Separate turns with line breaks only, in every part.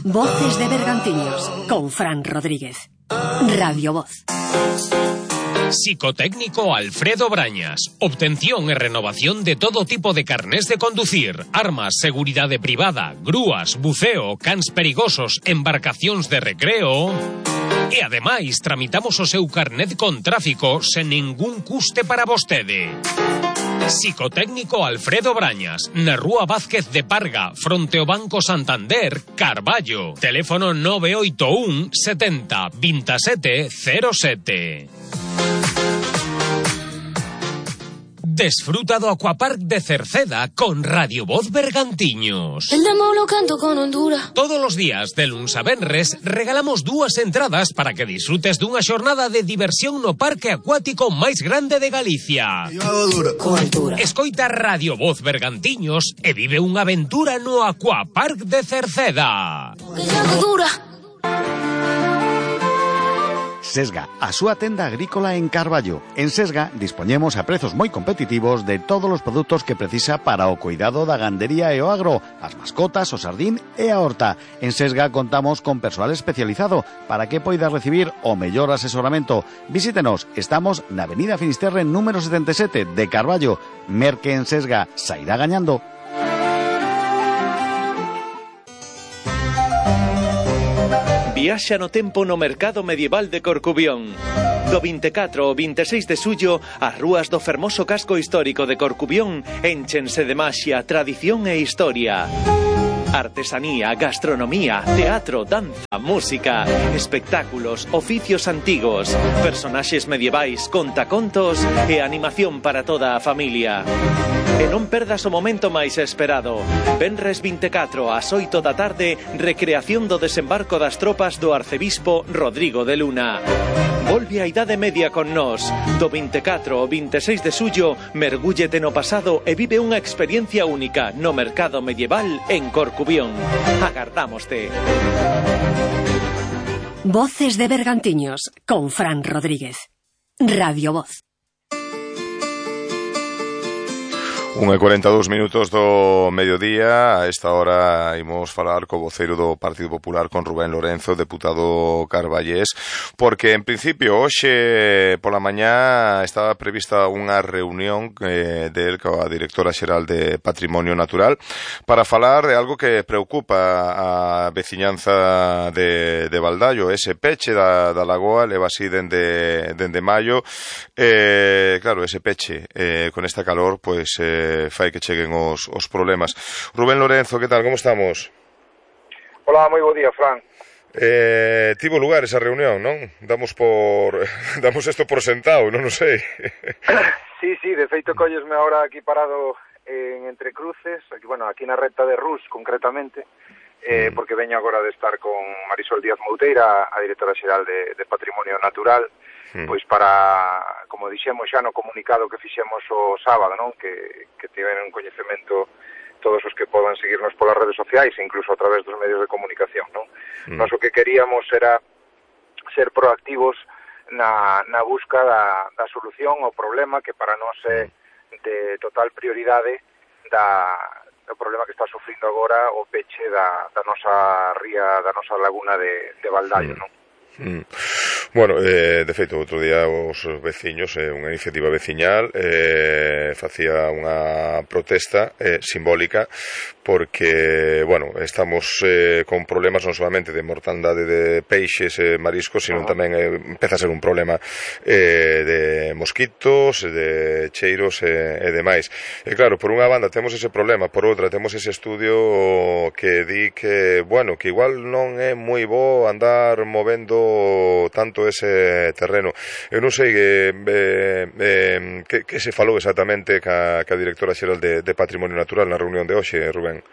Voces de Bergantiños, con Fran Rodríguez. Radio Voz.
Psicotécnico Alfredo Brañas. Obtención e renovación de todo tipo de carnés de conducir, armas, seguridade privada, grúas, buceo, cans perigosos, embarcacións de recreo. E ademais tramitamos o seu carnet con tráfico sen ningún custe para vostede. Psicotécnico Alfredo Brañas, na Rúa Vázquez de Parga, fronte ao Banco Santander, Carballo. Teléfono 981 70 27 07. Desfruta do Aquapark de Cerceda con Radio Voz Bergantiños.
El demo lo canto con Honduras.
Todos os días, de luns a venres, regalamos 2 entradas para que disfrutes dunha xornada de diversión no parque acuático máis grande de Galicia. Escoita Radio Voz Bergantiños e vive unha aventura no Aquapark de Cerceda.
Que ya no dura.
Sesga, a súa tenda agrícola en Carballo. En Sesga dispoñemos a prezos moi competitivos de todos os produtos que precisa para o cuidado da gandería e o agro, as mascotas, o sardín e a horta. En Sesga contamos con persoal especializado para que poida recibir o mellor asesoramento. Visítenos, estamos na Avenida Finisterre número 77 de Carballo. Merque en Sesga, sairá gañando.
Viaxa no tempo no mercado medieval de Corcubión. Do 24 ao 26 de xullo, as rúas do fermoso casco histórico de Corcubión énchense de maxia, tradición e historia. Artesanía, gastronomía, teatro, danza, música, espectáculos, oficios antigos, personaxes medievais, contacontos e animación para toda a familia. E non perdas o momento máis esperado. Venres 24 ás 8 da tarde, recreación do desembarco das tropas do arcebispo Rodrigo de Luna. Volve a Idade Media con nós. Do 24 ao 26 de xullo, mergúllete no pasado e vive unha experiencia única no mercado medieval en Corcubión. Agardámoste.
Voces de Bergantiños, con Fran Rodríguez. Radio Voz.
1:42 do mediodía. A esta hora imos falar co voceiro do Partido Popular, con Rubén Lorenzo, deputado carballés, porque en principio hoxe pola mañá estaba prevista unha reunión del coa directora xeral de Patrimonio Natural para falar de algo que preocupa a veciñanza de Valdallo, ese peche da lagoa, leva así dende maio. Claro, ese peche con esta calor, pois fai que cheguen os problemas. Rubén Lorenzo, que tal, como estamos?
Hola, moi bo día, Fran.
Tivo lugar esa reunión, non? Damos isto por sentado, non o sei.
Sí, de feito collesme agora aquí parado en Entre Cruces, aquí na recta de Rus, concretamente, porque veño agora de estar con Marisol Díaz Mouteira, a directora xeral de Patrimonio Natural, pois para, como dixemos xa no comunicado que fixemos o sábado, non? Que tiveron coñecemento todos os que podan seguirnos polas redes sociais e incluso a través dos medios de comunicación, non? Nós o que queríamos era ser proactivos na busca da solución ao problema que para nós é de total prioridade do problema que está sufrindo agora o peche da nosa ría, da nosa laguna de Valdallo, non?
Bueno, de feito, outro día os veciños, unha iniciativa veciñal, facía unha protesta simbólica porque, estamos con problemas non solamente de mortandade de peixes e mariscos, sino tamén empeza a ser un problema de mosquitos, de cheiros e demais. E claro, por unha banda temos ese problema, por outra temos ese estudio que di que, que igual non é moi bo andar movendo tanto ese terreno. Eu non sei que se falou exactamente ca directora xeral de Patrimonio Natural na reunión de hoxe, Rubén.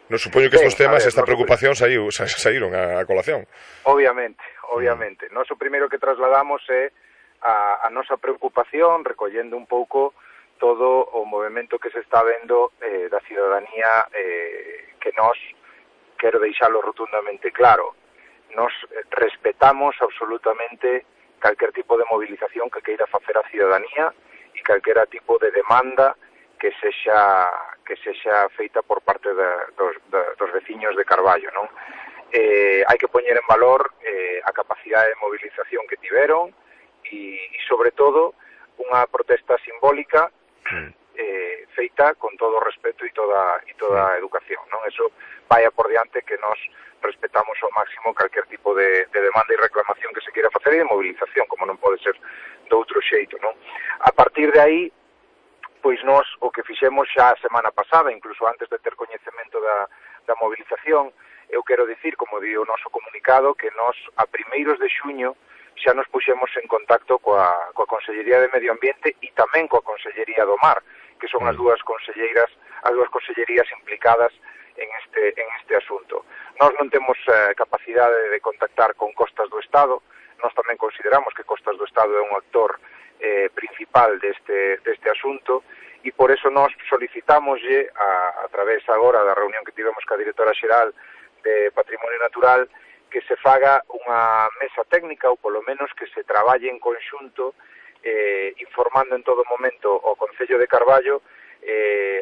Non supoño que estes temas, esta preocupación saíron a colación.
Obviamente. Nós o primeiro que trasladamos é a nosa preocupación, recollendo un pouco todo o movimento que se está vendo da cidadanía, que nós, quero deixalo rotundamente claro, nos respetamos absolutamente calquer tipo de movilización que queira facer a cidadanía e calquera tipo de demanda que sexa feita por parte dos veciños de Carballo, non? hai que poñer en valor a capacidade de movilización que tiveron e sobre todo unha protesta simbólica feita con todo o respeto e toda a educación, non? Eso vai por diante que nós respetamos ao máximo calquer tipo de demanda e reclamación que se queira facer e de movilización, como non pode ser de outro xeito, non? A partir de aí, pois nós o que fixemos xa a semana pasada, incluso antes de ter coñecemento da movilización, eu quero dicir, como di o noso comunicado, que nós a primeiros de xuño xa nos puxemos en contacto coa Consellería de Medio Ambiente e tamén coa Consellería do Mar, que son as dúas consellerías implicadas en este asunto. Nós non temos capacidade de contactar con Costas do Estado, nós tamén consideramos que Costas do Estado é un actor principal deste asunto e por eso nós solicitámoslle a través agora da reunión que tivemos ca directora xeral de Patrimonio Natural que se faga unha mesa técnica ou polo menos que se traballe en conxunto informando en todo momento o Concello de Carballo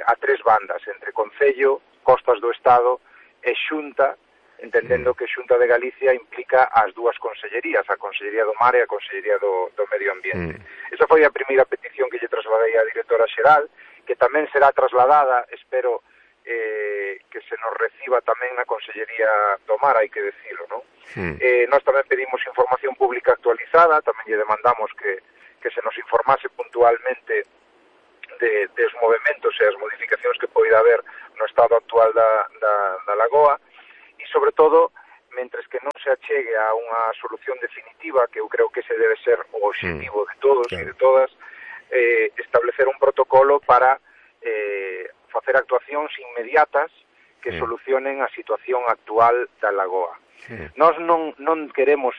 a tres bandas, entre Concello, Costas do Estado e Xunta, entendendo que Xunta de Galicia implica as dúas consellerías, a Consellería do Mar e a Consellería do Medio Ambiente. Esa foi a primeira petición que lle trasladei á directora xeral, que tamén será trasladada, espero que se nos reciba tamén na Consellería do Mar, hai que decirlo, non? Nós tamén pedimos información pública actualizada, tamén lle demandamos que se nos informase puntualmente dos movementos e as modificacións que poida haber no estado actual da lagoa e, sobre todo, mentres que non se achegue a unha solución definitiva, que eu creo que ese debe ser o objetivo de todos e de todas, establecer un protocolo para facer actuacións inmediatas que solucionen a situación actual da lagoa. Nós non queremos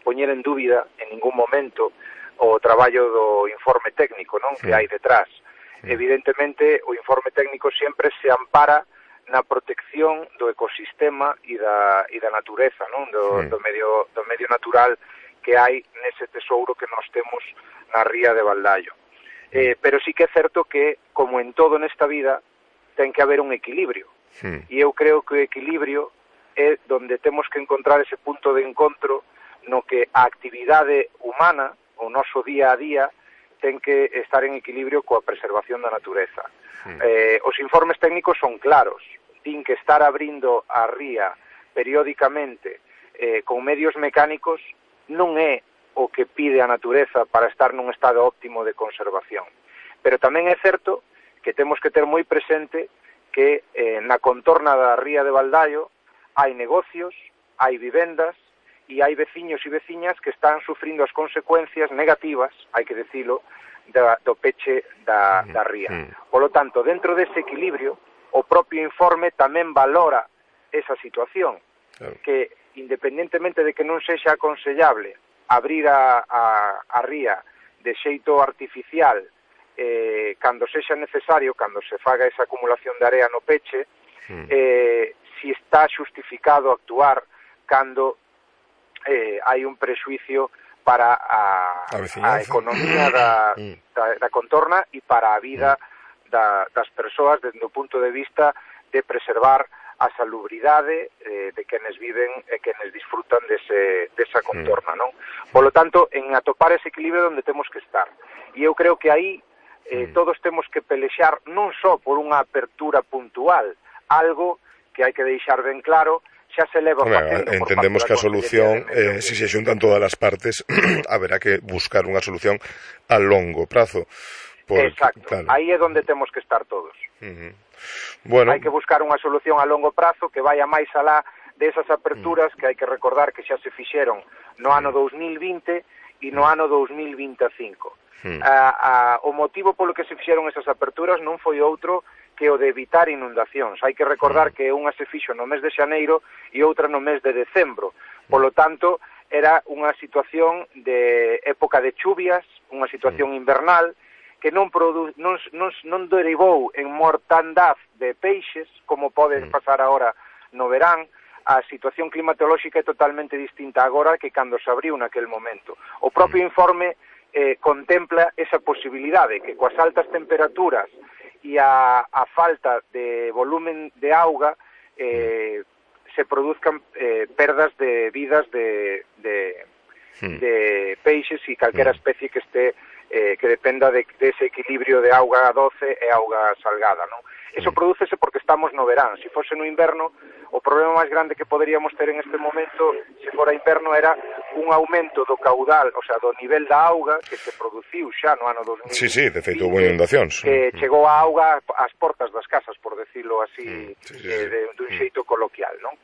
poñer en dúbida en ningún momento o traballo do informe técnico, non? Que hai detrás. Evidentemente, o informe técnico sempre se ampara na protección do ecosistema e da natureza, non? Do medio natural que hai nese tesouro que nós temos na ría de Baldaio. Pero sí que é certo que, como en todo nesta vida, ten que haber un equilibrio. E eu creo que o equilibrio é donde temos que encontrar ese punto de encontro no que a actividade humana, o noso día a día, ten que estar en equilibrio coa preservación da natureza. Os informes técnicos son claros, din que estar abrindo a ría periódicamente con medios mecánicos non é o que pide a natureza para estar nun estado óptimo de conservación. Pero tamén é certo que temos que ter moi presente que na contorna da ría de Baldaio hai negocios, hai vivendas, e hai veciños e veciñas que están sufrindo as consecuencias negativas, hai que decilo, do peche da ría. Por lo tanto, dentro dese equilibrio, o propio informe tamén valora esa situación, que independentemente de que non sexa aconsellable abrir a ría de xeito artificial cando sexa necesario, cando se faga esa acumulación de area no peche, si está xustificado actuar cando hai un prexuicio para a economía da contorna e para a vida das persoas desde o punto de vista de preservar a salubridade de quenes viven e quenes disfrutan desa contorna, non? Por lo tanto, en atopar ese equilibrio onde temos que estar. E eu creo que aí todos temos que pelexar non só por unha apertura puntual, algo que hai que deixar ben claro, xa se leva facendo.
Entendemos que a solución, se se xuntan todas as partes, haberá que buscar unha solución a longo prazo.
Exacto, claro. Aí é onde temos que estar todos. Bueno, hai que buscar unha solución a longo prazo que vaya máis alá desas aperturas que hai que recordar que xa se fixeron no ano 2020 e no ano 2025. O motivo polo que se fixeron esas aperturas non foi outro que o de evitar inundacións. Hai que recordar que unha se fixo no mes de xaneiro e outra no mes de decembro. Por lo tanto, era unha situación de época de chuvias, unha situación invernal, que non derivou en mortandad de peixes, como pode pasar agora no verán. A situación climatolóxica é totalmente distinta agora que cando se abriu naquel momento. O propio informe contempla esa posibilidade que coas altas temperaturas e a falta de volumen de auga se produzcan perdas de vidas de peixes e calquera especie que este que dependa dese equilibrio de auga doce e auga salgada, non? Eso prodúcese porque estamos no verán. Se fose no inverno, o problema máis grande que poderíamos ter en este momento, se fora inverno, era un aumento do caudal, o sea, do nivel da auga que se produciu xa no ano 2020.
Sí, de feito, houve inundacións.
Que chegou a auga ás portas das casas, por decirlo así, dun xeito coloquial, non?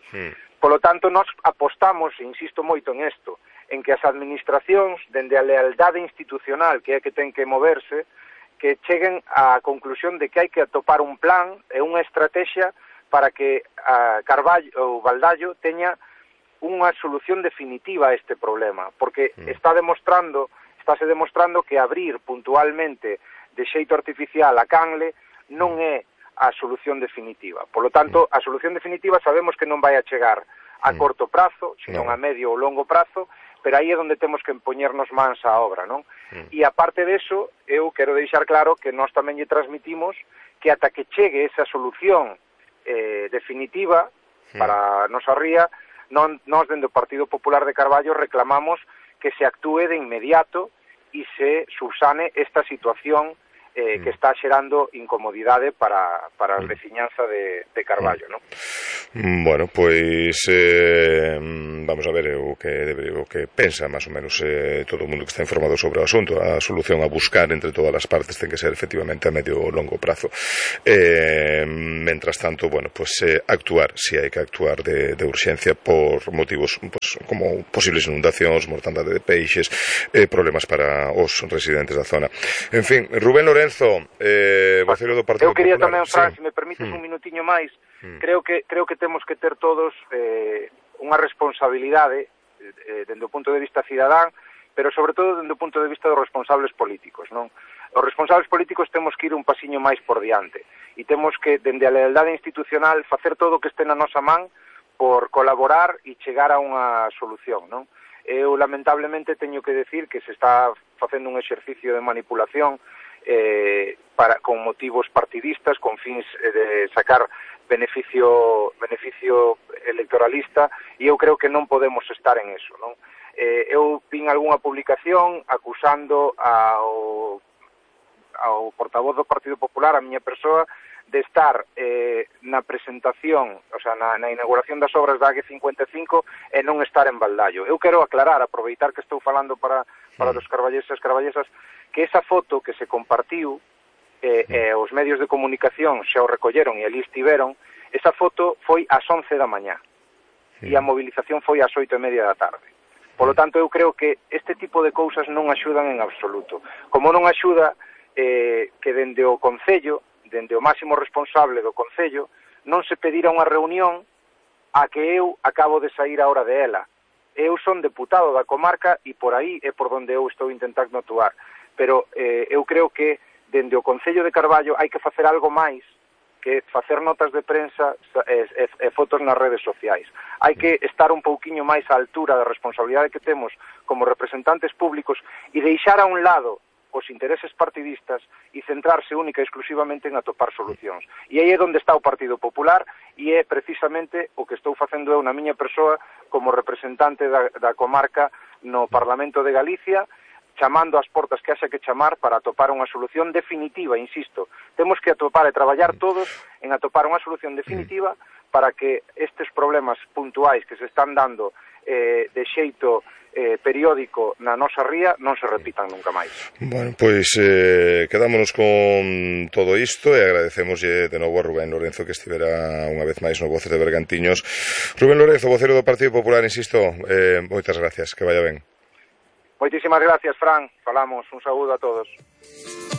Polo tanto, nós apostamos, insisto moito en isto, en que as administracións, dende a lealdade institucional que é que ten que moverse, que cheguen á conclusión de que hai que atopar un plan e unha estrategia para que Carballo ou Valdallo teña unha solución definitiva a este problema, porque estáse demostrando que abrir puntualmente de xeito artificial a canle non é a solución definitiva. Por lo tanto, a solución definitiva sabemos que non vai a chegar a corto prazo, senón a medio ou longo prazo, pero aí é onde temos que empoñernos mans á obra, non? E aparte deso, eu quero deixar claro que nós tamén lle transmitimos que ata que chegue esa solución definitiva para a nosa ría, nós dende o Partido Popular de Carballo reclamamos que se actúe de inmediato e se subsane esta situación que está xerando incomodidade para a veciñanza de Carballo, non?
Bueno, pois vamos a ver o que pensa máis ou menos todo o mundo que está informado sobre o asunto. A solución a buscar entre todas as partes ten que ser efectivamente a medio ou longo prazo. Mentras tanto, bueno, pues actuar, si hai que actuar de urxencia por motivos pues, como posibles inundacións, mortandade de peixes, problemas para os residentes da zona. En fin, Rubén Lorenzo, voceiro do Partido Popular.
Eu quería tamén, Fran, se me permites un minutiño máis, creo que temos que ter todos unha responsabilidade dende o punto de vista cidadán, pero sobre todo dende o punto de vista dos responsables políticos, non? Os responsables políticos temos que ir un pasiño máis por diante e temos que, dende a lealdade institucional, facer todo o que este na nosa man por colaborar e chegar a unha solución, non? Eu, lamentablemente, teño que decir que se está facendo un exercicio de manipulación con motivos partidistas, con fins de sacar beneficio electoralista, e eu creo que non podemos estar en eso, non? Eu vin algunha publicación acusando ao portavoz do Partido Popular, a miña persoa, de estar na presentación, o sea, na inauguración das obras da AG55 e non estar en Valdallo. Eu quero aclarar, aproveitar que estou falando para os carballeses e carballesas, que esa foto que se compartiu os medios de comunicación xa o recolleron e ali estiveron, esa foto foi ás 11 da mañá e a movilización foi ás 8:30 da tarde. Por lo tanto, eu creo que este tipo de cousas non axudan en absoluto. Como non axuda que dende o Concello, dende o máximo responsable do Concello, non se pedira unha reunión a que eu acabo de sair a hora de ela. Eu son deputado da comarca e por aí é por onde eu estou intentando actuar. Pero eu creo que dende o Concello de Carballo hai que facer algo máis que facer notas de prensa e fotos nas redes sociais. Hai que estar un pouquiño máis á altura da responsabilidade que temos como representantes públicos e deixar a un lado os intereses partidistas e centrarse única e exclusivamente en atopar solucións. E aí é onde está o Partido Popular e é precisamente o que estou facendo eu na miña persoa como representante da comarca no Parlamento de Galicia, chamando ás portas que haxa que chamar para atopar unha solución definitiva, insisto. Temos que atopar e traballar todos en atopar unha solución definitiva para que estes problemas puntuais que se están dando de xeito periódico na nosa ría non se repitan nunca máis.
Bueno, pois quedámonos con todo isto e agradecemoslle de novo a Rubén Lorenzo que estivera unha vez máis no Voces de Bergantiños. Rubén Lorenzo, vocero do Partido Popular, insisto, moitas gracias, que vaya ben.
Moitísimas gracias, Fran. Falamos, un saúdo a todos.